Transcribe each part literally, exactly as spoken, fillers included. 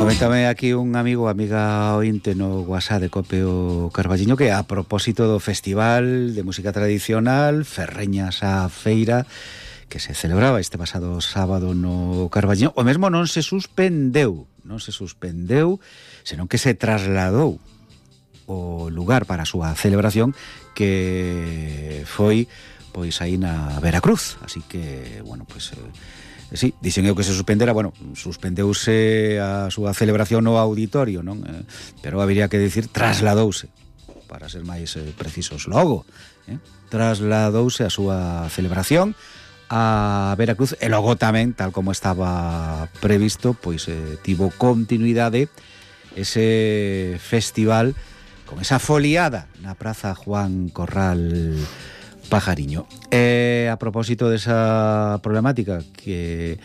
Coméntame aquí un amigo, amiga ointe no WhatsApp de Copio Carballiño que a propósito do Festival de Música Tradicional Ferreñas á Feira que se celebraba este pasado sábado no Carballiño, o mesmo non se suspendeu, non se suspendeu, senón que se trasladou o lugar para a súa celebración, que foi pois aí na Veracruz. Así que, bueno, pois eh, sí, dixen eu que se suspendera, bueno, suspendeuse a súa celebración no auditorio, non? Eh, pero habería que dicir trasladouse, para ser máis eh, precisos, logo, eh? trasladouse a súa celebración a Veracruz e logo tamén, tal como estaba previsto, pois eh, tivo continuidade ese festival con esa foliada na Praza Juan Corral Pajariño. E a propósito desa problemática que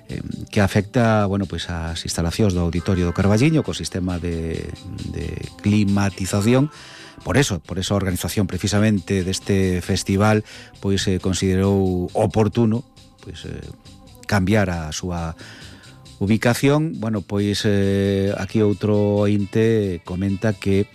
eh, que afecta, bueno, pois as instalacións do auditorio do Carballiño co sistema de, de climatización, por eso, por esa organización precisamente deste festival, pois se eh, considerou oportuno pois eh, cambiar a súa ubicación. Bueno, pois eh, aquí outro ointe comenta que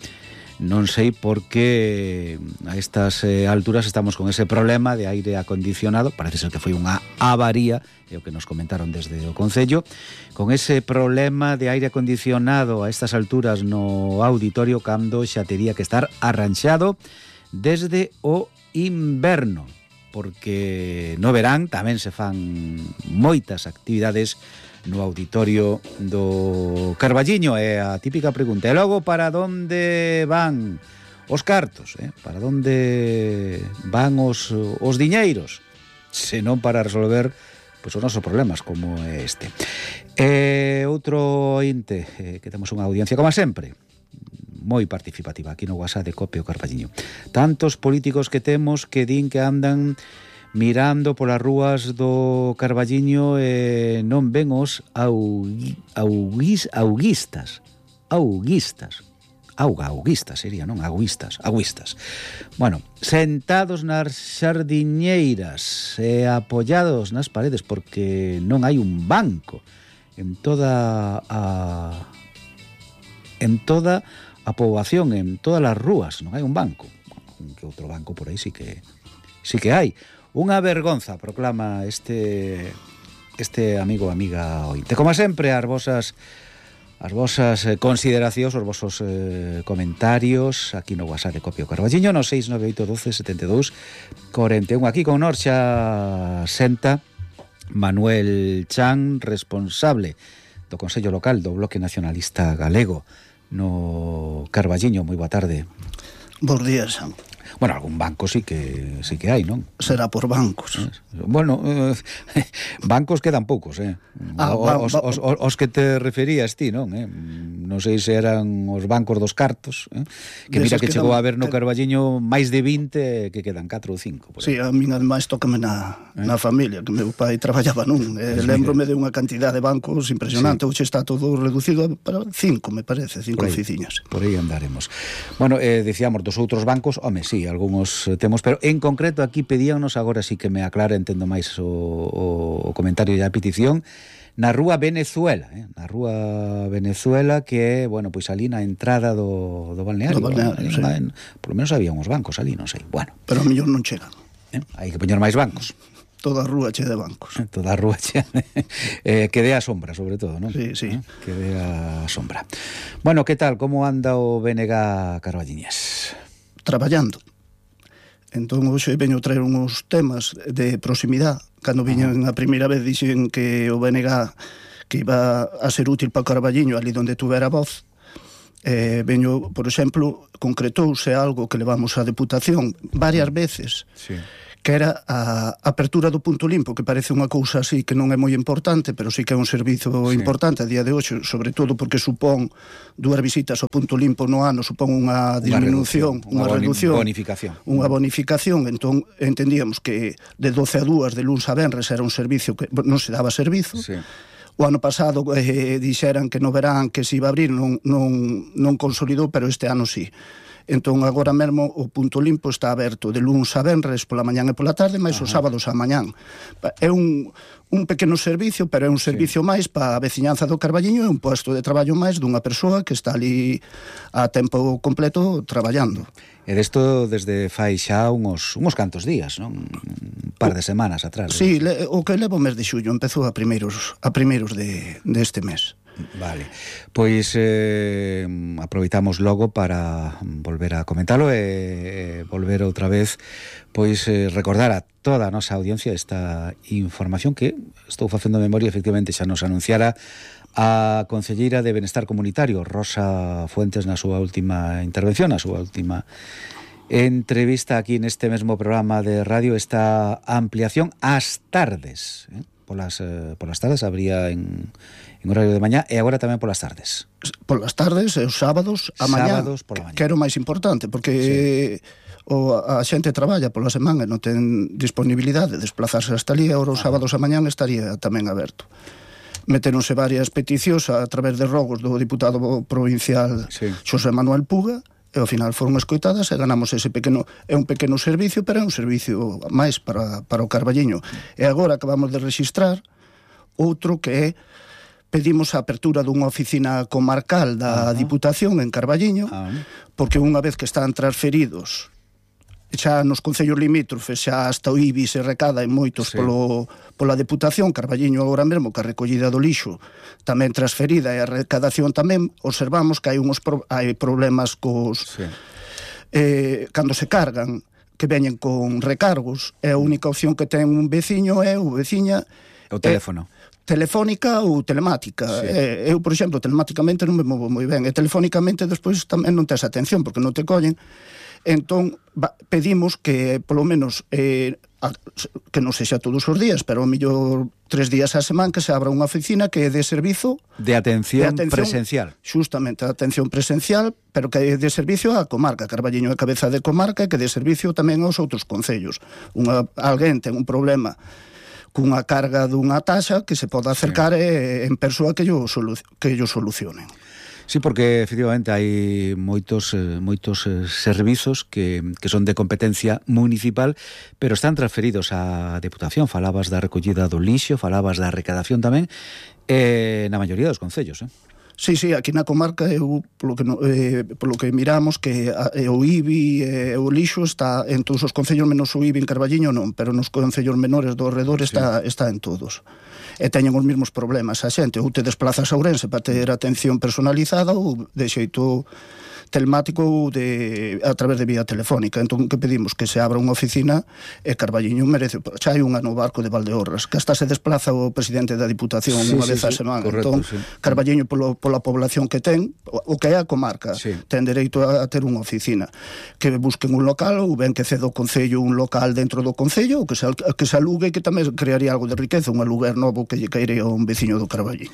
non sei por que a estas eh, alturas estamos con ese problema de aire acondicionado. Parece ser que foi unha avaría, é o que nos comentaron desde o Concello, con ese problema de aire acondicionado a estas alturas no auditorio, cando xa tería que estar arranxado desde o inverno, porque no verán tamén se fan moitas actividades no auditorio do Carballiño. É a típica pregunta: e logo para onde van os cartos? Eh? Para onde van os, os diñeiros? Se non para resolver pois, os nosos problemas como este. E outro ointe, eh, que temos unha audiencia, como sempre, moi participativa aquí no WhatsApp de Copio Carballiño. Tantos políticos que temos que din que andan mirando polas rúas do Carballiño e non ven os augui, auguis, auguistas auguistas auga, auguistas sería, non? Auguistas, auguistas. Bueno, sentados nas xardiñeiras e apoyados nas paredes porque non hai un banco en toda a en toda a poboación, en todas as rúas, non hai un banco. Un que outro banco por aí sí que sí que hai. Unha vergonza, proclama este este amigo, amiga ointe. Como sempre, as vosas as vosas eh, consideracións, os vosos eh, comentarios aquí no WhatsApp de Copio Carballiño no seis nove oito doce setenta e dous cuarenta e un. Aquí con nós xa senta Manuel Chan, responsable do Consello Local do Bloque Nacionalista Galego no Carballiño. Moi boa tarde. Bos días, Sam. Bueno, algún banco sí que sí que hai, non? Será por bancos. Bueno, eh, bancos quedan poucos, eh? Ah, o, os, os, os, os que te referías ti, non? Eh? Non sei se eran os bancos dos cartos, eh? Que mira que chegou a haber no Carballiño máis de vinte, que quedan catro ou cinco. Sí, a min ademais tócame na, eh? na familia, que meu pai traballaba nun. Eh, Lembrome de unha cantidad de bancos impresionante. Sí. Hoxe está todo reducido para cinco, me parece, cinco oficinas. Por aí andaremos. Bueno, eh, decíamos dos outros bancos, home, sí, algúns temos, pero en concreto aquí pedíanos, agora sí que me aclara, entendo máis o, o, o comentario e a petición, na Rúa Venezuela, eh? na Rúa Venezuela, que é, bueno, pois ali na entrada do, do balneario, do balneario, sí. en, por lo menos había uns bancos ali, non sei, bueno. Pero a mellor non chegan. Eh? Hai que poñer máis bancos. Toda a rúa che de bancos. Toda a rúa che eh, que dé a sombra, sobre todo, non? Sí, sí. Eh? Que dé a sombra. Bueno, que tal? Como anda o B N G Carballiñés? Traballando. Entón, hoxe veño traer uns temas de proximidade. Cando viñen a primeira vez dixen que o B N G que iba a ser útil para o Carballiño ali onde tuvera voz. Eh, veño, por exemplo, concretouse algo que levamos á Deputación varias veces, sí, que era a apertura do punto limpo, que parece unha cousa así que non é moi importante, pero sí que é un servizo sí. importante a día de hoxe, sobre todo porque supón dúas visitas ao punto limpo no ano, supón unha disminución, unha, unha reducción, bonificación. Unha bonificación, entón entendíamos que de doce a dúas, de luns a venres, era un servicio que non se daba servizo. Sí. O ano pasado eh, dixeran que no verán que se iba a abrir, non, non, non consolidou, pero este ano sí. Entón, agora mesmo, o punto limpo está aberto de luns a venres pola mañán e pola tarde, máis os sábados a mañán. É un, un pequeno servicio, pero é un servicio sí. máis para a veciñanza do Carballiño, é un posto de traballo máis dunha persoa que está ali a tempo completo traballando. E desto desde fai xa uns, uns cantos días, non? Un par de semanas atrás. Sí, le, o que levo o mes de xullo, empezou a primeiros, a primeiros de, de este mes. Vale, pois eh, aproveitamos logo para volver a comentalo e eh, volver outra vez pois eh, recordar a toda a nosa audiencia esta información que estou facendo memoria, efectivamente xa nos anunciara a concelleira de Benestar Comunitario, Rosa Fuentes, na súa última intervención, na súa última entrevista aquí neste mesmo programa de radio, esta ampliación ás tardes, eh? Polas, eh, polas tardes habría en, en horario de mañá e agora tamén polas tardes. Polas tardes e os sábados a mañá, sábados pola mañá. Que era o máis importante, porque sí. o, a xente traballa pola semana e non ten disponibilidade de desplazarse hasta ali, e os ah. sábados a mañán estaría tamén aberto. Meteronse varias peticións a través de rogos do diputado provincial sí. Xosé Manuel Puga, e ao final foron escoitadas e ganamos ese pequeno, é un pequeno servicio, pero é un servicio máis para, para o Carballiño. E agora acabamos de registrar outro que é, pedimos a apertura dunha oficina comarcal da uh-huh. Diputación en Carballiño, uh-huh. porque unha vez que están transferidos xa nos concellos limítrofes, xa hasta o I B I se recada en moitos sí. polo, pola Deputación, Carballiño agora mesmo, que a recollida do lixo tamén transferida e a recadación tamén, observamos que hai uns pro, hai problemas cos sí. eh, cando se cargan, que veñen con recargos, e a única opción que ten un veciño é o veciña o teléfono é, telefónica ou telemática. Sí. Eh, eu, por exemplo, telemáticamente non me movo moi ben, e telefónicamente despois tamén non tes atención, porque non te collen. Entón, va, pedimos que, polo menos, eh, a, que non sexa todos os días, pero ao mellor tres días á semana, que se abra unha oficina que é de servizo... De atención, de atención presencial. Justamente, de atención presencial, pero que é de servicio á comarca. Carballiño é cabeza de comarca e que de servicio tamén aos outros concellos. Unha, alguén ten un problema cunha carga dunha taxa que se poda acercar sí. e, en persoa que yo, solu, que yo solucionen. Sí, porque efectivamente hai moitos eh, moitos eh, servizos que, que son de competencia municipal, pero están transferidos á Deputación. Falabas da recollida do lixo, falabas da recadación tamén, eh, na maioría dos concellos, eh? Sí, sí, aquí na comarca eu, polo que, eh, polo que miramos que a, eh, o I B I e eh, o lixo está en todos os concellos, menos o I B I en Carballiño non, pero nos concellos menores do redor está, sí. está en todos. E teñen os mesmos problemas a xente, ou te desplazas a Ourense para ter atención personalizada ou de xeito telemático ou de, a través de vía telefónica. Entón, que pedimos? Que se abra unha oficina e Carballiño merece, xa hai unha no barco de Valdeorras, que hasta se desplaza o presidente da Diputación sí, unha sí, vez sí, a semana. Correcto, entón, sí. Carballiño polo, pola población que ten, o que é a comarca, sí. ten dereito a, a ter unha oficina. Que busquen un local, ou ben que ceda o Concello un local dentro do Concello, ou que se, que se alugue, que tamén crearía algo de riqueza, un aluguer novo que lle caería a un veciño do Carballiño.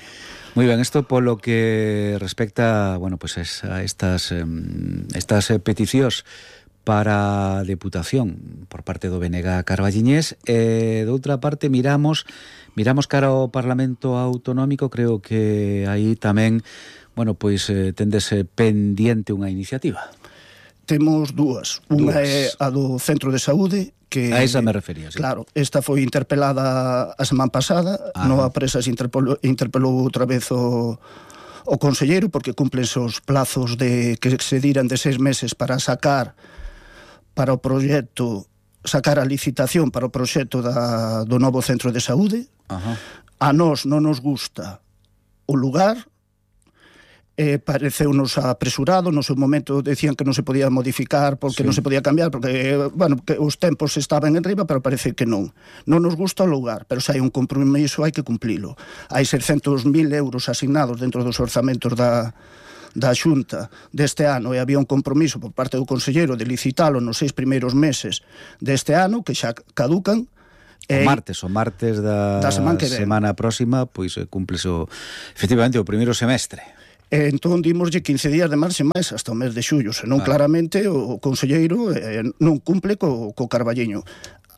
Moi ben, isto polo que respecta, bueno, pues a estas eh, estas peticións para a Deputación por parte do B N G carballiñés, e de outra parte miramos miramos cara ao Parlamento Autonómico, creo que aí tamén, bueno, pois eh, tendese pendiente unha iniciativa. Temos dúas, unha é a do Centro de Saúde, que a esa me refería, sí. Claro, esta foi interpelada a semana pasada, ah. no a presa se interpelou, interpelou outra vez o, o conselleiro, porque cumplense os plazos de que se diran de seis meses para sacar para o proxecto, sacar a licitación para o proxecto da, do novo Centro de Saúde. Ajá. A nós non nos gusta o lugar, Eh, pareceunos apresurado, no seu momento decían que non se podía modificar porque sí. non se podía cambiar, porque, bueno, que os tempos estaban en riba, pero parece que non. Non nos gusta o lugar, pero se hai un compromiso hai que cumplilo. Hai seiscentos mil euros asignados dentro dos orzamentos da, da Xunta deste ano, e había un compromiso por parte do conselleiro de licitalo nos seis primeiros meses deste ano, que xa caducan. O martes, o martes da, da semana, semana próxima, pois cúmplese o, efectivamente o primeiro semestre. E entón dimoslle quince días de marxe máis hasta o mes de xullo, senón vale. Claramente o conselleiro eh, non cumple co, co Carballiño.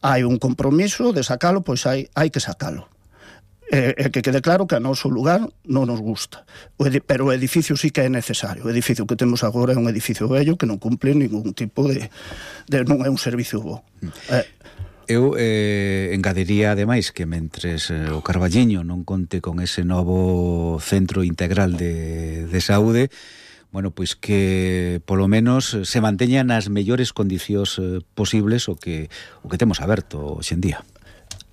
Hai un compromiso de sacalo, pois hai, hai que sacalo. E, e que quede claro que a noso lugar non nos gusta, o edi- pero o edificio sí que é necesario. O edificio que temos agora é un edificio vello que non cumple ningún tipo de, de non é un servicio bo. Eh, Eu eh, engadiría ademais que mentres eh, o Carballiño non conte con ese novo centro integral de, de saúde, bueno, pois que polo menos se manteña nas mellores condicións eh, posibles o que o que temos aberto hoxe en día.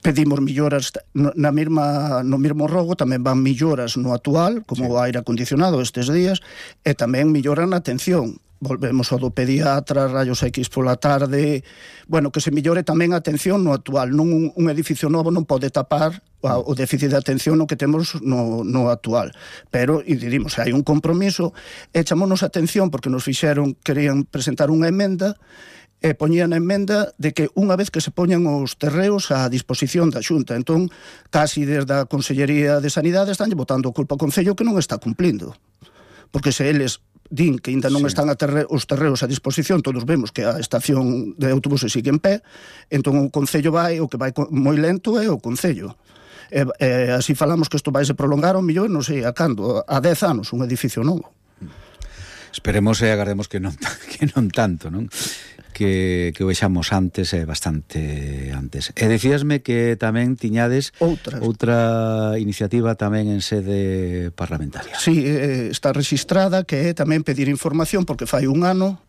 pedimos melloras na mesma, no mesmo rogo, tamén van melloras no actual, como sí. o aire acondicionado estes días, e tamén mellora na atención. Volvemos ao do pediatra, rayos X pola tarde, bueno, que se mellore tamén a atención no actual. Non un, un edificio novo non pode tapar o déficit de atención no que temos no, no actual. Pero, e dirimos, hai un compromiso, e chamonos a atención porque nos fixeron, querían presentar unha emenda, e poñían a emenda de que unha vez que se poñan os terreos á disposición da Xunta. Entón, casi desde a Consellería de Sanidade están botando culpa ao Concello que non está cumplindo. Porque se eles din que ainda non sí. están a terre, os terreos a disposición, todos vemos que a estación de autobuses sigue en pé, entón o Concello vai, o que vai moi lento é o Concello. E, e así falamos que isto vai se prolongar ao millón, non sei, a cando, a dez anos, un edificio novo. Esperemos e agardemos que non, que non tanto, non? Que, que o vexamos antes é bastante antes. E decíasme que tamén tiñades Outras. outra iniciativa tamén en sede parlamentaria. Sí, eh, está registrada, que é tamén pedir información, porque fai un ano,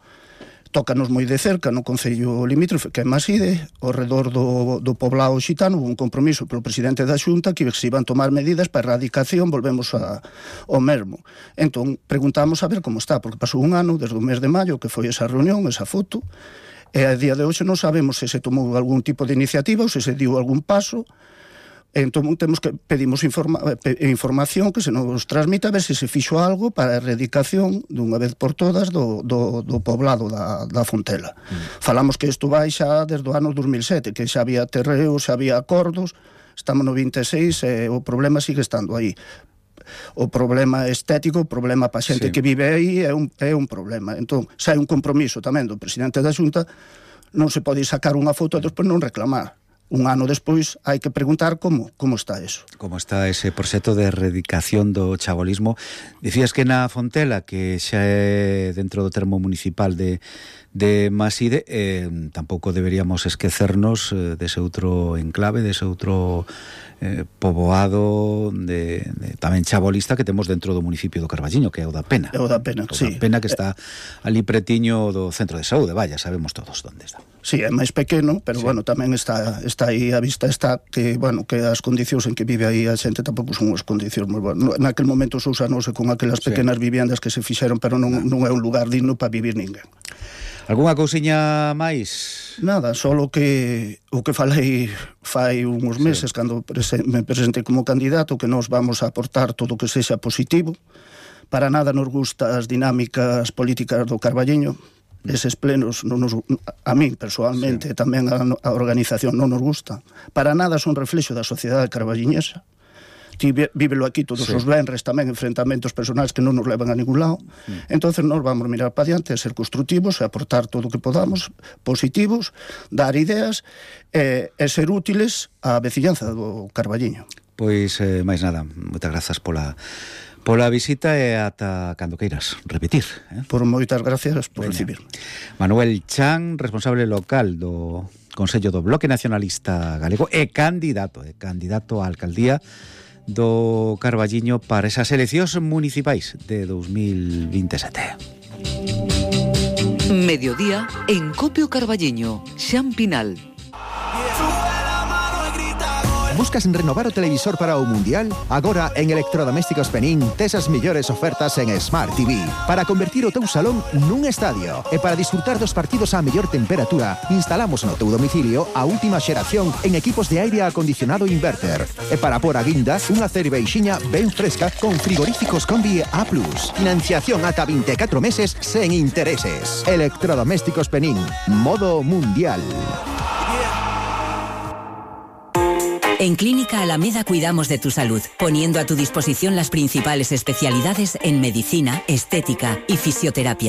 tócanos moi de cerca no Concello limítrofe, que é Maside, ao redor do, do poblado xitano, un compromiso polo presidente da Xunta que se iban tomar medidas para a erradicación, volvemos a, ao mesmo. Entón, preguntamos a ver como está, porque pasou un ano, desde o mes de maio, que foi esa reunión, esa foto, e a día de hoxe non sabemos se se tomou algún tipo de iniciativa ou se se diu algún paso. Entón temos que pedimos informa, pe, información que se nos transmita a ver se se fixo algo para a erradicación dunha vez por todas do, do, do poblado da, da Fontela. Mm. Falamos que isto vai xa desde o ano dos mil sete, que xa había terreos, xa había acordos, estamos no vinte e seis e o problema sigue estando aí. O problema estético, o problema pa xente sí. que vive aí é un, é un problema. Entón, xa hai un compromiso tamén do presidente da Xunta, non se pode sacar unha foto e despois non reclamar. Un ano despois hai que preguntar como como está eso. Como está ese proxecto de erradicación do chabolismo. Dicías que na Fontela, que xa é dentro do termo municipal de, de Maside, eh, tampouco deberíamos esquecernos eh, dese outro enclave, dese outro eh, poboado de, de, tamén chabolista que temos dentro do municipio do Carballiño, que é o da Pena. É o da Pena, o sí. O da Pena, que está ali pretiño do centro de saúde, vaya, sabemos todos onde está. Sí, é máis pequeno, pero sí. bueno, tamén está está aí a vista está que, bueno, que as condicións en que vive aí a xente tampouco son as condicións moi boas. Naquel momento se usanose con aquelas pequenas sí. viviendas que se fixeron, pero non, non é un lugar digno para vivir ninguén. Algúnha cousiña máis? Nada, solo que o que falei fai uns meses sí. cando prese, me presentei como candidato, que nós vamos a aportar todo o que sexa positivo. Para nada nos gusta as dinámicas políticas do Carballiño. Eses plenos non nos, a min persoalmente sí. tamén a, a organización non nos gusta. Para nada son reflexo da sociedade carballiñesa. Ti vívelo aquí todos sí. os venres tamén, enfrentamentos personais que non nos levan a ningún lado. Mm. Entonces nós vamos mirar para diante, a ser constructivos, a aportar todo o que podamos, positivos, dar ideas e, e ser útiles á veciñanza do Carballiño. Pois, eh, máis nada, moitas grazas pola pola visita e ata cando queiras repetir. Eh? Por moitas gracias por Veña. recibir. Manuel Chan, responsable local do Consello do Bloque Nacionalista Galego e candidato, e candidato á alcaldía do Carballiño para esas eleccións municipais de dos mil veintesete. Mediodía en Copio Carballiño, Xan Pinal. Buscas renovar o televisor para o Mundial? Agora en Electrodomésticos Penín tes as mellores ofertas en Smart T V para convertir o teu salón nun estadio e para disfrutar dos partidos á mellor temperatura. Instalamos no teu domicilio a última xeración en equipos de aire acondicionado inverter e para por a guinda unha cerveixiña ben fresca con frigoríficos Combi A plus. Financiación ata vinte e catro meses sen intereses. Electrodomésticos Penín, modo mundial. En Clínica Alameda cuidamos de tu salud, poniendo a tu disposición las principales especialidades en medicina, estética y fisioterapia.